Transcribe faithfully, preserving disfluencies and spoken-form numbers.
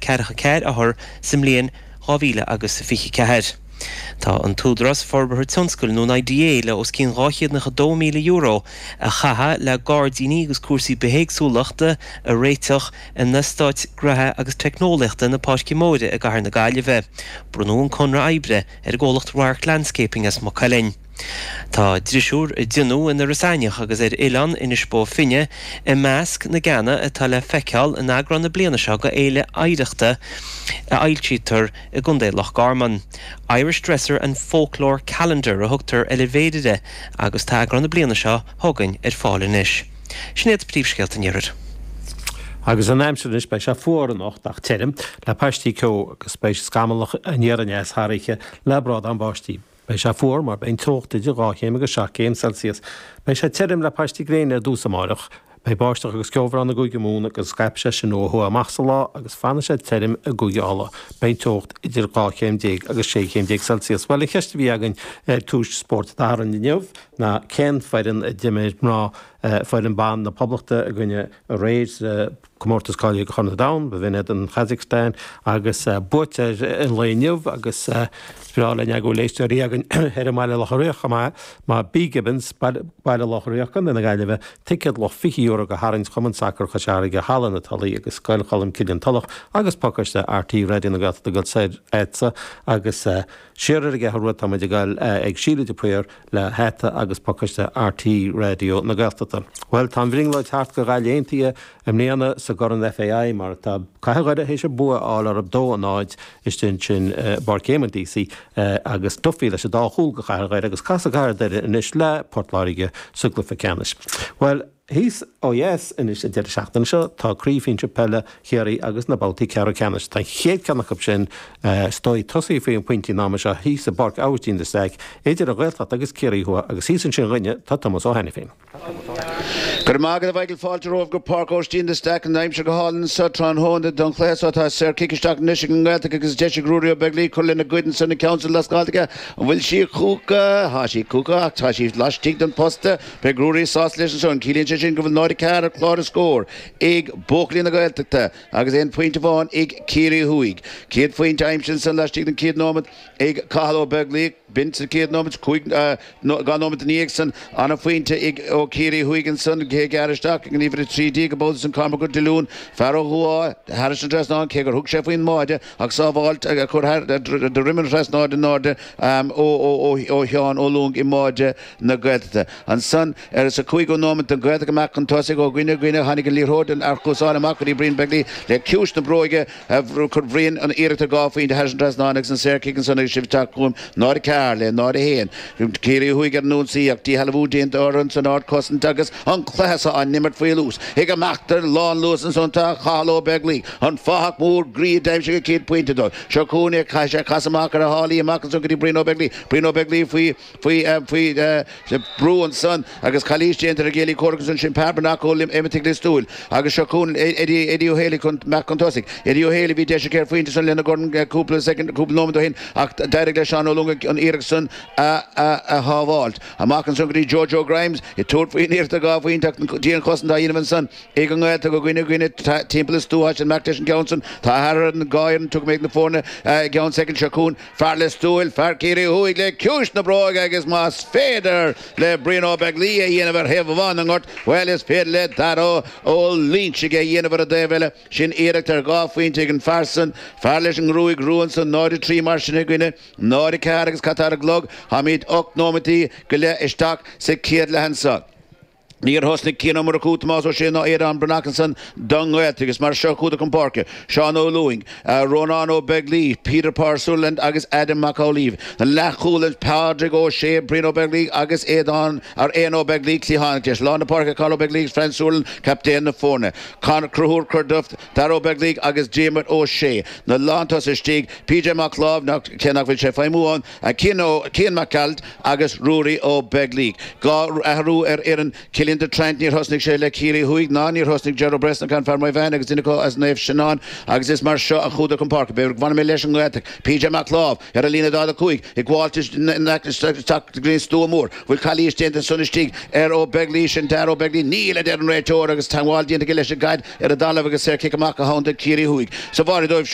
ceathracha ceathair othar sa mbliain dhá mhíle agus fiche ceathair. Tá an tÚdarás Forbartha Tionscail nó I D A le os cionn dhá chéad nócha dó míle euro a chaitheamh le gairdíní agus cúrsaí bithéagsúlachta a réiteach in Eastát Gnóthaí agus Teicneolaíochta na Páirce Móire i gCathair na Gaillimhe. Bronnadh an conradh oibre ar an gcomhlacht Radharc Landscaping as Maigh Cuilinn. Tá drisiúr a déanadh in Iorras Aithneach agus ar oileán Inis Bó Finne i measc na gceanna atá le feiceáil in eagrán na bliana seo de Fhéile Oidhreachta a fhoilsítear i gContae Loch Garman. Irish Dresser and Folklore Calendar a thugtar ar an bhféilire agus tá eagrán na bliana seo chugainn ar fáil anois. Sin iad príomhscéalta an iarthair. Agus an aimsir anois, beidh sé fuar anocht ach tirim le paistí ceo agus beidh scamallach aniar aneas thar oíche le brádán báistí. Beidh sé fuar mar beidh an teocht idir dhá chéim agus seacht gcéim Celsius. Beidh sé tirim le paistí gréine ar dtús amárach. Beidh báisteach agus ceobhrán i gCúige Mumhan agus scaipfidh sé sin ó thuaidh amach sa lá agus fanfaidh sé tirim i gCúige Uladh. Beidh teocht idir dhá chéim déag agus sé chéim déag Celsius. Well, an cheist a bhí againn ar Tús Spóirt Dé Sathairn inniu ná cén foireann a d'imir mná foireann ban na Poblachta i gcoinne aréir comórtas cáilithe Chorn an Domhain, b'in iad an Kazakhstan agus buaite an lae inniu agus breá linn go bhfuil éisteoirí againn ar an mBaile Locha Riach mar B Gibbons, Baile Locha Riach, Contae na Gaillimhe, ticéad luach fiche euro go tharraingt Chumann Sacair Chois Fharraige, Halla na Tulaí agus Scoil Cholm Cille an Tulach agus pacáiste R T Raidió na Gaeltachta go soir agus siar ar an gCeathrú Rua táimid ag dul ag Síle de Paor le hata agus pacáiste R T Raidió na Gaeltachta. Well, tá an bhrionglóid thart do Ghaillimh Aontaithe i mbliana sa gCorn F A I mar tá Cathair Dhoire théis bua a fháil orthu dó a náid istigh sin Páirc Éamonn Deacy agus Duffy leis an dá chúl do Chathair Dhoire agus casfaidh Cathair Dhoire anois le Port Láirge sa gcluiche ceannais. Well, thíos ó dheas anois an deireadh seachtaine seo tá craobh shinsir peile Chiarraí agus na babhtaí ceathrú ceannais. Tá chéad cheann acu sin stoi tosaí faoi an pointí ná seo thíos i bPáirc Aibhistín de Staic idir an Ghaeltacht agus Ciarraí Thuaidh agus thíos ansin dhúinne tá Tomás Ó Hainiféin. Gur mágad a bheiigil fáilte romhaibh go Páirc Aibhistín de Staic. An aimsir go hálainn sa tráthnóna don chluiche seo. Tá saorchic isteach anois ag an nGaeltacht agus deis ag Ruairí Ó Beaglaoich cur lena gcuid san na ceann lascáilte. An bhfuil sí chucu? Tá sí chucu ach tá sí laistigh den posta. Beidh Ruairí sásta leis an. Ciallaíonn sé sin go bhfuil náid ceathair ar chlár na scór ag buachaillí na Gaeltachta agus aon phointe amháin ag Ciarraí Thuaidh. Céad phointe aimsithe san laistigh den chéad nóiméad ag Cathal Ó Beaglaoich, b'in sa chéad nóiméad, cúig dhá nóiméad ina dhiaidh san an-phointe ag ó Ciarraí Thuaidh ansan cé gear isteach an uimhir a trí déag go bó san Cormac Ó Diolún, fear ó Dhumha thar an trasnán, cé gur thug sé faoin mbáide ach sábháilt chur de an trasnán in airde ó Sheán Ó Lúing i mbáide na Gaeltachta. Ansan ar sa cúigiú nóiméad den Ghaeltacht amach chun tosaigh ó dhuine go duine, tháinig an liathróid an archúsáin amach go dtí Brian Begley le ciús na bróige chur Brian an iarracht ar dhá phointe thar an trasnán agus an saorchic ansan agus sibh chugam náid ceathair le náid a haon. Ciarraí Thuaidh ar an ionsaí ach díshealbhú déanta orthu san ardchosaint agus an cluiche seo á imirt faoi luas. Ag amach ar lánluas ansan tá Cathal Ó Beaglaoich, an fathach mór groí d'aimsigh an chéad phointe dó. Seo chugainn chaith sé cas amach ar a shálaí amach ansan go dtí Brian Ó Beaglaoich. Brian Ó Beaglaoich faoi faoi faoi brú ansan agus calaois déanta ar gcéilí comhraic ansan, sin Pearbanach ó Imitigh Liostúil agus seo chugainn Eddie Eddie Ó Héalaí chun meach chun tosaigh. Eddie Ó Héalaí, bhí deis ar phointe san lena gcorn cúpla second, cúpla nóiméad ó shin ach d'éirigh le Seán Ó Lúing an iarracht san a a shábháilt. Amach ansan go dtí Jojo Grimes i tabhairt faoin iarracht dhá phointe ach dianchosaint á dhéanamh ansan ag an nGaeltacht go dhuine dhuine timpeall is stua sin meach leis an gceann san. Tá thar an gáir tug méid na foirne ceann second. Seo chugainn fear Liostúil, fear Ciarraí Thuaidh le ciúis na bróige agus más féidir le Brian Ó Beaglaoich a dhéanamh ar thaobh amháin an ghort, well, is féidir le Dara Ó Loinsigh a dhéanamh ar an dtaobh eile. Sin iarracht ar dhá phointe ag an fear san, fear leis an ngruaig rua san. Náid trí mar sin i gcoinne náid ceathair agus cad ar an gclog, táimid ocht nóiméad go leith isteach sa chéad leath anseo. Níor thosnaigh Cian Ó Murchú, Tomás Ó Sé ná Aodán Breathnach ansan don Ghaeltacht agus mar seo chuadar chun páirce: Seán Ó Lúing, Rónán Ó Beaglaoich, Peter Power Sutherland agus Adam Mac Amhlaoibh. An leathchúl, Pádraig Ó Sé, Brian Ó Beaglaoich agus Aodán ar Éan Ó Beaglaoich, cliathánach deis. Lár na páirce, Carl Ó Beaglaoich, Fran Sutherland, captaen na foirne. Conor Cruthúr Cuirduft, Dara Ó Beaglaoich agus Diarmuid Ó Sé. Na lántosaithe istigh, P J Mac Láimh, nach cé nach bhfuil sé feidhmiú ann, Cian Cian Mac Gearailt agus Ruairí Ó Beaglaoich. Dhá athrú ar fhoireann Cillian de Trant, níor thosnaigh sé le Ciarraí Thuaidh ná níor thosnaigh Gerard Bresnahan, fear Maigh Bhean agus duine acu as Naomh Seanán agus is mar seo a chuadar chun páirce. B'fhéidir go bhfanfaidh mé leis an nGaeltacht. P J Mac Láimh ar a líne daichead a cúig ag gabháil isteach stua mór. Bhfuil calaois déanta san istigh ar Ó Beaglaoich, sin Dara Ó Beaglaoich? Níl, a deir an réiteoir, agus teagmháil déanta leis an gcaid ar an dtalamh agus saorchic amach a thabharfaidh Ciarraí Thuaidh. Sa bháire dóibh.